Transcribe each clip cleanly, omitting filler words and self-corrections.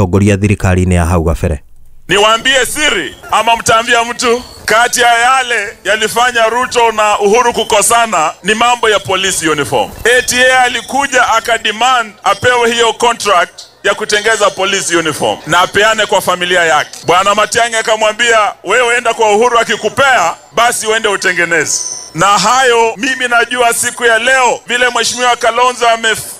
Atongoria thirikari-inĩ ya hau gabere. Niwaambie siri ama mtaambia mtu? Kati ya yale yalifanya Ruto na Uhuru kukosana ni mambo ya police uniform. ATA alikuja akademand apewe hiyo contract ya kutengeza police uniform na apeane kwa familia yake. Bwana Matiang'i akamwambia, wewe enda kwa Uhuru, akikupea basi uende utengeneze. Na hayo mimi najua siku ya leo vile Mheshimiwa Kalonzo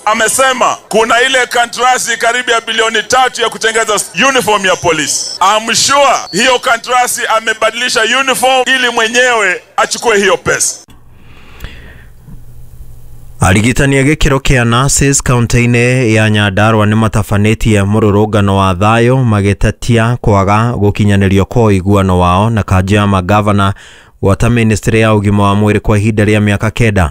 amesema kuna ile kandarasi karibu ya bilioni 3 ya kutengeza uniform ya polisi. I'm sure hiyo kandarasi amebadilisha uniform ili mwenyewe achukue hiyo pesa. Arigitani a gĩkĩro kĩa nurses kaunti-inĩ ya Nyandarua nĩ matabanĩtie mũrũrũngano wa thayũ magĩtetia kwaga gũkinyanĩrio kwa ũiguano wao na kanjũ ya magavana gwata ministry ya ũgima wa mwĩrĩ kwa ihinda rĩa mĩaka 9.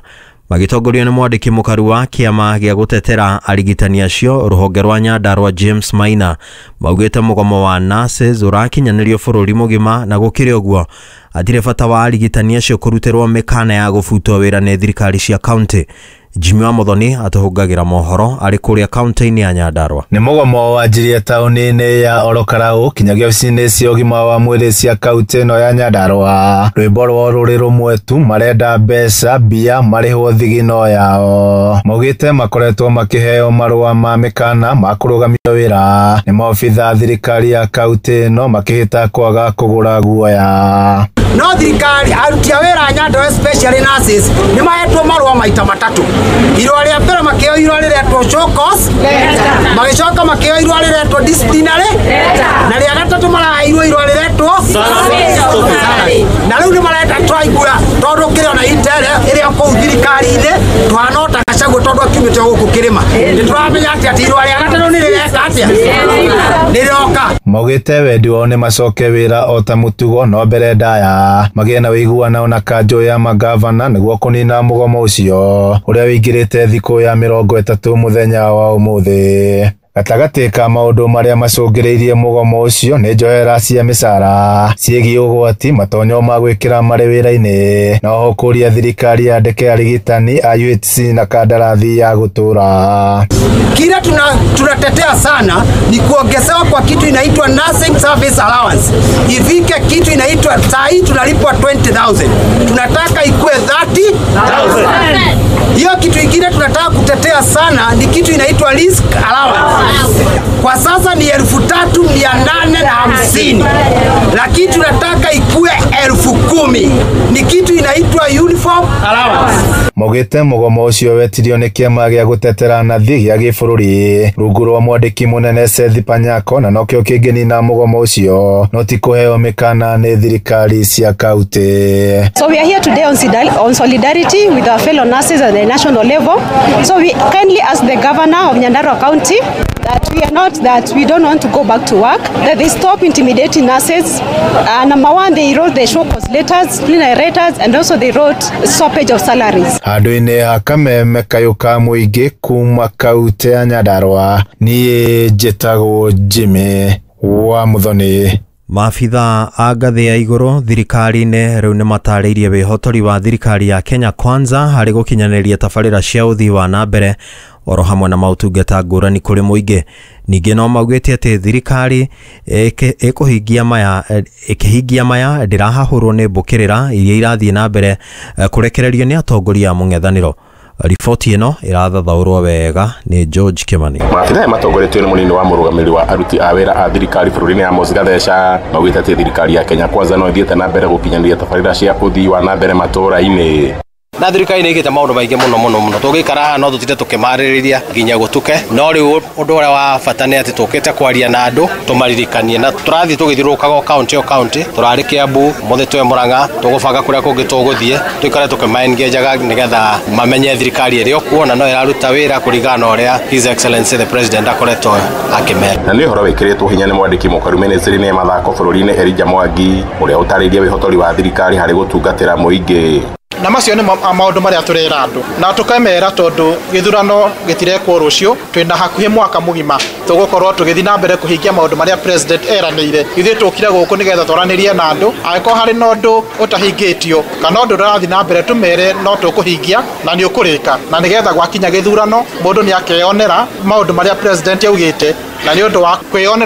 Magĩtongorio nĩ mwandĩki mũkaru wa kĩama gĩa gũtetera arigitani acio rũhonge rwa Nyandarua James Maina, maugĩte mũgomo wa nurses ũrakinyanĩrio bũrũri mũgima, na gũkĩrĩ ũguo hatirĩ bata wa arigitani acio kũrutĩrwo mĩkana ya gũbutwo wĩra nĩ thirikari cia kaunti. Jimmy wa Muthoni atũhũngagĩra mohoro arĩ kũrĩa kaunti-inĩ ya Nyandarua. Nĩ mũgomo wanjirie taũni-inĩ ya Orokarau kinyagia ofici-inĩ cia ũgima wa mwĩrĩ cia kaunti ĩno ya Nyandarua. Rwĩmbo rwao rũrĩ rũmwe tu, marenda mbeca mbia marĩhwo thigino yao. Maugĩte makoretwo makĩheo marũa ma mĩkana ma kũrũgamio wĩra nĩ maobitha thirikari ya kaunti ĩno makĩhĩta kwaga kũgũra guoya. No thirikari, aruti a wĩra a Nyandarua, especially nurses, nĩ mahetwo marũa maita matatũ. Irũa rĩa mbere makĩheo irũa rĩretwo show cause, magĩcoka makĩheo irũa rĩretwo disciplinary, na rĩa gatatũ maraheirwo irũa rĩretwo salary. Na rĩu nĩ marenda twaigua tondũ kĩrĩ ona intere ĩrĩa kũu thirikari-inĩ tũhana ota Gachagua tondũ akiumĩte gũkũ kĩrĩma. Nĩ tũramenya atĩ irũa rĩa gatatũ nĩ rĩreka atĩa, nĩ rĩroka. Maugĩte wendi wao nĩ macoke wĩra o ta mũtugo, no mbere ndaya magĩe na ũiguano na kanjũ ya magavana nĩguo kũnina mũgomo ũcio ũrĩa wĩingĩrĩte thikũ ya 30 mũthenya wa ũmũthĩ. Gatagatĩ ka maũndũ marĩa macũngĩrĩirie mũgomo ũcio nĩ njohera cia mĩcara ciĩgiĩ ũgwati, matonyo ma gwĩkĩra marĩ wĩra-inĩ, na oho kũria thirikari yandĩke arigitani a UHC na kandarathi ya gũtũra. Kile tunatetea sana ni kuongezewa kwa kitu inaitwa nursing service allowance, ifike kitu inaitwa, saa hii tunalipwa 20,000, tunataka ikue 30,000. Hiyo kitu ingine tunataka kutetea sana ni kitu inaitwa risk allowance. Kwa sasa ni 3,850, lakini tunataka ikue 10,000. Ni kitu inaitwa uniform allowance. Maugĩte mũgomo ũcio wetirio nĩ kĩama gĩa gũtetera nathi gĩa gĩbũrũri rungu rwa mwandĩki mũnene Seth Panyako, na nokĩo kĩngĩnina mũgomo ũcio no ti kũheo mĩkana nĩ thirikari cia kaunti. So we are here today on solidarity with our fellow nurses at the national level. So we kindly ask the governor of Nyandarua County that we are not, that we don't want to go back to work, that they stop intimidating nurses. Number one, they wrote the show cause letters, disciplinary letters, and also they wrote stoppage of salaries. Handũ-inĩ ha kameme kayũ ka mũingĩ kuma kaunti ya Nyandarua, niĩ njĩtagwo Jimmy wa Muthoni. Maabitha a ngathĩ ya igũrũ thirikari-inĩ rĩu nĩ matarĩirie wĩhotori wa thirikari ya Kenya Kwanza harĩ gũkinyanĩria tabarĩra cia ũthii wa na mbere oro hamwe na maũtungata ngũrani kũrĩ mũingĩ. Ningĩ no maugĩte atĩ thirikari ĩkũhingia maya, ĩkĩhingia maya ndĩrahahũrwo nĩ mbũkĩrĩra iria irathiĩ na mbere kũrekererio nĩ atongoria a mũng'ethanĩro. Riboti ĩno ĩrathathaũrwo wega nĩ George Kimani. Maabitha aya matongoretio nĩ mũnini wa mũrũgamĩrĩri wa aruti a wĩra a thirikari bũrũri-inĩ Amos Gatheca maugĩte atĩ thirikari ya Kenya Kwanza no ĩthiĩte na mbere gũkinyanĩria tabarĩra cia ũthii wa na mbere matũũra-inĩ. Na thirikari nĩ ĩkĩte maũndũ maingĩ mũno mũno mũno, tũngĩikara haha no tũtinde tũkĩmarĩrĩria nginya gũtuke, no rĩu ũndũ ũrĩa wa bata nĩ atĩ tũkĩte kwaria na andũ tũmaririkanie, na tũrathiĩ tũgĩthiũrũrũkaga o kaunti o kaunti. Tũrarĩ Kiambu, mũthĩ twĩ Murang'a, tũgũbanga kũrĩa kũngĩ tũgũthiĩ tũikare tũkĩmaengejaga nĩgetha mamenye thirikari ĩrĩ o kuo na no ĩraruta wĩra kũringana na ũrĩa His Excellency the President akoretwo akĩmera. Na nĩ ũhoro wĩkĩrĩtwo hinya nĩ mwandĩki mũkaru ministry-inĩ ya mathako bũrũri-inĩ Elijah Mwangi, ũrĩa ũtarĩirie wĩhotori wa thirikari harĩ gũtungatĩra mũingĩ. Na Na macio nĩ maũndũ marĩa tũrera andũ na tũkamera, tondũ gĩthurano gĩtirekwo rũciũ, twĩna hakuhĩ mwaka mũgima tũgũkorwo tũgĩthiĩ na mbere kũhingia maũndũ marĩa president eranĩire. Ithuĩ tũkire gũkũ nĩgetha twaranĩrie na andũ, angĩkorwo harĩ na ũndũ ũtahingĩtio kana ũndũ ũrathiĩ na mbere, tũmere no tũkũhingia na nĩ ũkũrĩka, na nĩgetha gwakinya gĩthurano mũndũ nĩ akeyonera maũndũ marĩa president augĩte, na nĩ ũndũ wa kwĩyonera.